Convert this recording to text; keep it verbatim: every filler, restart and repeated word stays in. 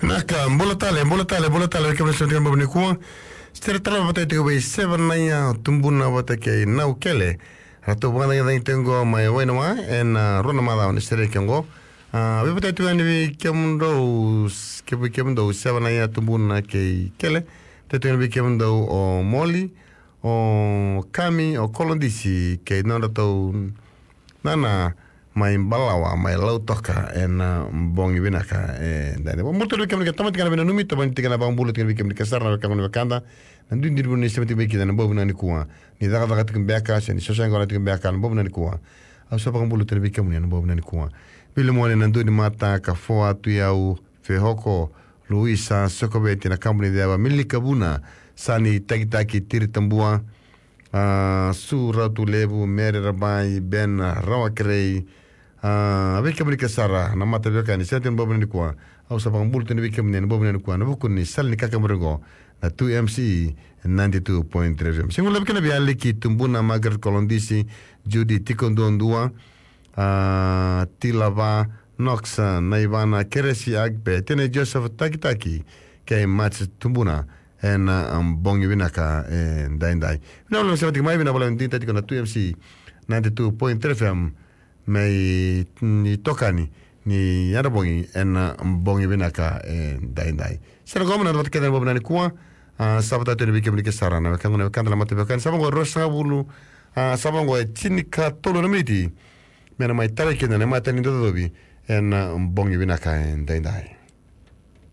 Vinaka, bula tale, bula tale, bula tale, vei kemuni sema tiko ena bogi nikua. Sere tale vata tiko vei Sevanaia Tubuna vata kei Naukele. Ratou vakacagicagi tiko qo mai Wainawa ena rua na macawa ni sere ke qo. A, vei vata tiko yani vei kemudou, s-, ke vei kemudou Sevanaia Tubuna kei Kele. Vata tiko yani vei kemudou o Moli, o Kami, o Kolodisi, kei nodratou nana mai Balawa, mai Lautoka, ena bogi vinaka, e, dai. Vakabula tale vei kemuni ke tamata tiko na veinanumi, tamata tiko na vakabula tiko vei kemuni ke sara na wekaqu na wekada, na duidui ni vanua ni sema tiko vei keda ena bogi vinaka nikua. Ni cakacaka tiko beka, se ni sosoya qo na tiko beka, na bogi vinaka nikua. Au sa vakabula tale vei kemuni ena bogi vinaka nikua. Vili mone na dua ni mata ka foa tu yau, Fehoko, Luisa Sokoveti, na kabu ni ceva, Milika Vuna, Sani Takitaki, Tiri Tabua, a, Su Ratu Levu, Mere Rabai, Ben Rawakerei, a, vei kemuni ke sara na mata veiwekani, sema tiko ena bogi vinaka nikua. Au sa vakabula tale vei kemuni ena bogi vinaka nikua, ena vuku ni sala ni kakaburaki qo, na two M C E, ninety-two point three F M. Sega ni guilecavi kina vei Aliki Tubuna, Margaret Kolodisi, Judy Tiko Duadua, a, Tilava, Noxa, Naivana, Keresi Agbe, Tene Joseph Takitaki, kei Mats Tubuna, ena, a, bogi vinaka, e, daidai. Vinaka vakalevu na sema tiko mai, vinaka vakalevu na digitaki tiko na two M C E, ninety-two point three F M, me itokani ni yadra bogi ena bogi vinaka, e, daidai. Sere qo me na vata kece ena bogi vinaka nikua, a, sa vata tiko yani vei kemuni ke sara na wekaqu na wekada na mata veiwekani. Sa va qo e ruasagavulu, a, sa va qo e tinikatolu na miniti me na mai tara kina na imatai ni dau cocovi ena bogi vinaka, e, daidai.